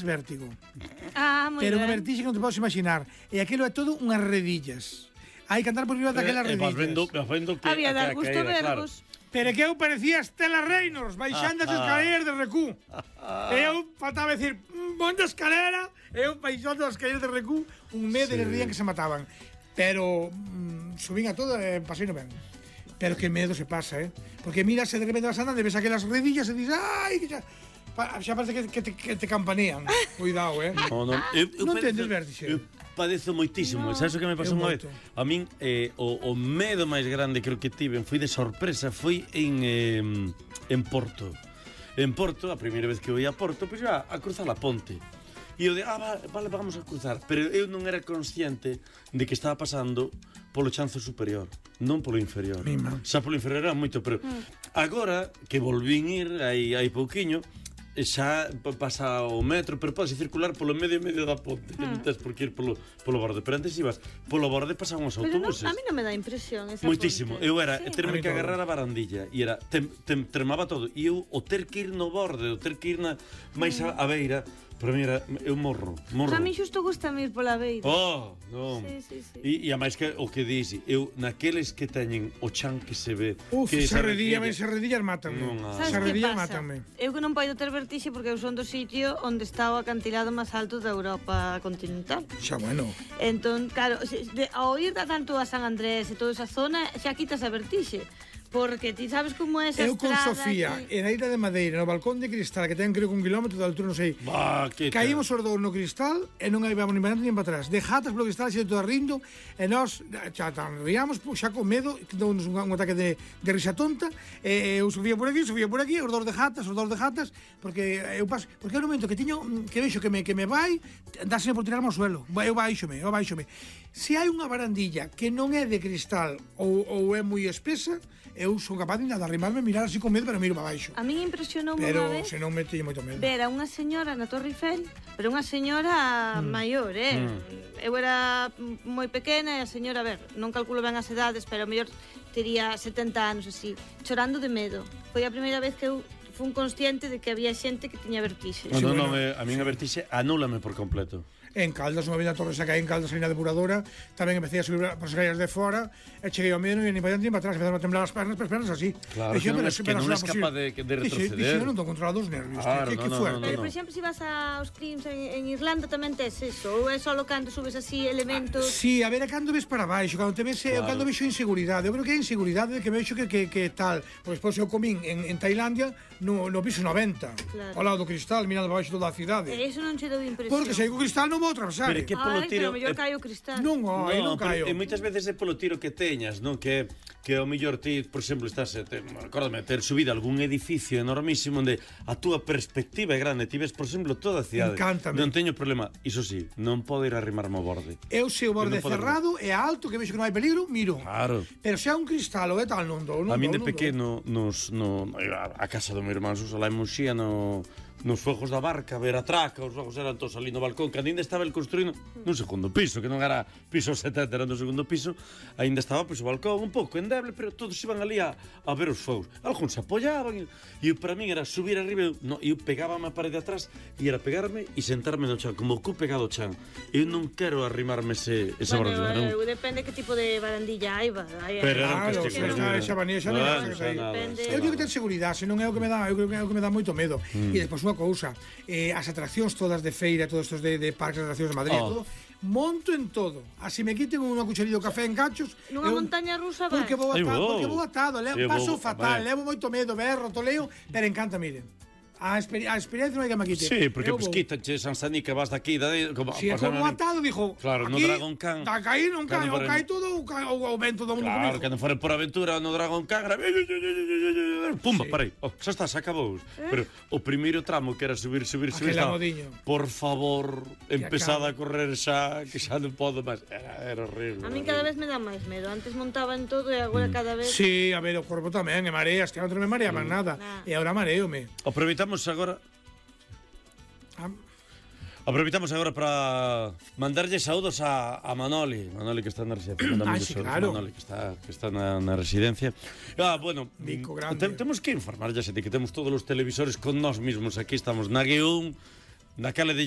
vértigo. Moi Pero unha ben. vertixe que non te podes imaginar. E aquilo é todo unhas redillas. Hai que andar por riba daquelas redillas. Vas vendo que Había dar gusto vervos. Pero que eu parecía Estela Reynolds baixando as escaleras de Recú. Eu faltaba decir, monte escalera, eu baixando as escaleras de Recú, un mes de rían que se mataban. Pero subín a todo e pasei no ben. Pero que medo se pasa, Porque miras e de repente vas andando e ves aquelas redillas e dices, ai, que xa parece que te campanean. Cuidado, Non tendes vértixe. Eu padezo moitísimo. Sabes o que me pasou unha vez? A min, o medo máis grande creo que tiven foi de sorpresa, foi en Porto. En Porto, a primeira vez que eu ia a Porto, pois iba a cruzar a ponte. E eu de, vale, vamos a cruzar. Pero eu non era consciente de que estaba pasando polo chanzo superior, non polo inferior. Xa polo inferior era moito, pero agora que volvín ir hai pouquiño, xa pasa o metro, pero podes circular polo medio da ponte, que non tens por que ir polo borde, pero antes ibas polo borde, pasaban os autobuses. A mí non me dá impresión esa moitísimo, ponte. eu era terme que agarrar a barandilla e era, tremaba todo, e eu o ter que ir no borde, o ter que ir máis a beira, para mí era, eu morro. A mí xusto gusta ir pola beira. Non. Sí. E a máis que o que dixi, eu naqueles que teñen o chan que se ve, que se redillas mátanme. Sabes que pasa? Eu que non podo ter vertixe porque eu son do sitio onde está o acantilado máis alto da Europa continental. Xa bueno. Entón, claro, ao ir tanto a San Andrés e toda esa zona, xa quitas a vertixe. Porque ti sabes como é esa estrada. Eu con Sofía, en a Illa de Madeira, no balcón de cristal, que ten creo que 1 kilómetro de altura, non sei. Caímos os dous no cristal e non íbamos ni para adelante ni para atrás. De jatas polo cristal, xe todo rindo, e nós xa ríamos, xa con medo, dou-nos un ataque de risa tonta, e eu subía por aquí, os dous de jatas, porque eu paso, porque é un momento que tiño, que vexo que me vai, dáseme por tirarme ao suelo. Eu baixome. Se hai unha barandilla que non é de cristal ou é moi espesa, eu son capaz de arrimarme, mirar así con medo, pero miro para baixo. A mí impresionou pero unha vez. Se non me teño moito medo. Ver a unha señora na Torre Eiffel, pero unha señora maior, Eu era moi pequena e a señora, non calculo ben as edades, pero a mellor tería 70 anos así, chorando de medo. Foi a primeira vez que eu fun consciente de que había xente que tiña vertixe. Non, a min a vertixe anúlame por completo. En Caldas, unha vez na Torre Sacaí, en Caldas, aí na depuradora, tamén empecé a subir por as escaleras de fora, e cheguei ao medio, non ia ni para diante ni para atrás, empezaron a temblar as pernas así. Claro, que non é capaz de retroceder. Dixo, non estou controlado os nervios, que fuerte. Pero, por exemplo, se vas aos crimes en Irlanda, tamén tes eso, ou é solo cando subes así elementos... Sí, a ver, é cando ves para baixo, cando te ves, cando vexo inseguridade. Eu creo que é inseguridade de que vexo que tal. Pois despois eu comín en Tailandia no piso 90, ao lado do cristal, mirando para baixo toda a cidade. E iso non che dou impresión. Porque se hai o cristal non vou atravesar. Pero mellor cae o cristal. Non caio. E moitas veces é polo tiro que teñas, non? Que ao mellor ti, por exemplo, estás, acórdame, ter subido a algún edificio enormísimo onde a túa perspectiva é grande, ti ves, por exemplo, toda a cidade. Encántame. Non teño problema, iso sí, non podo ir a arrimarme ao borde. Eu se o borde cerrado e alto, que vexo que non hai peligro, miro. Claro. Pero se hai un cristal ou é tal, non dou. A min de pequeno, a casa do meu irmán Suso, lá en Muxía, nos fogos da barca, ver a traca, os fogos eran todos ali no balcón, que ainda estaba el construído nun segundo piso, que non era piso 70, era no segundo piso, ainda estaba pois, o balcón un pouco endeble, pero todos iban ali a ver os fogos. Algúns se apoyaban, e para min era subir arriba, eu pegábame a parede atrás, e era pegarme e sentarme no chan, como o cu pegado ao chan. Eu non quero arrimarme esa barandilla. Depende que tipo de barandilla hai, pero esa vanilla xa non eu digo que ten seguridade, senón é o que me dá, eu creo que é o que me dá moito medo. E despois unha cousa, as atraccións todas de feira, todos estos de parques de atraccións de Madrid, todo, monto en todo. Así me quiten unha cucharilla de café en cachos. Nunha montaña rusa vai. Porque vou atado, paso fatal, levo moito medo, berro, toleo, pero encanta, miren. A experiencia non hai que me quite. Sí, porque pues quítache Sansani que vas daqui, como si é como atado, dixo. Claro, no Dragon Khan. Da caí non cae, ou cae todo ou vento do mundo. Claro, que non fore por aventura no Dragon Khan, pumba, parei. Xa está, se acabou. Pero o primeiro tramo que era subir, por favor, empezada a correr xa, que xa non podo máis. Era horrible. A min cada vez me dá máis medo. Antes montaba en todo e agora cada vez... Sí, a ver, o corpo tamén, e mareas, que non me mareaban nada. E agora mareome. Aproveitamos agora para mandarlle saúdos a Manoli que está na residencia. Sí, claro. Manoli que está na residencia. Bueno, temos que informar, ya se que temos todos os televisores con nós mismos. Aquí estamos na G1, Daquela de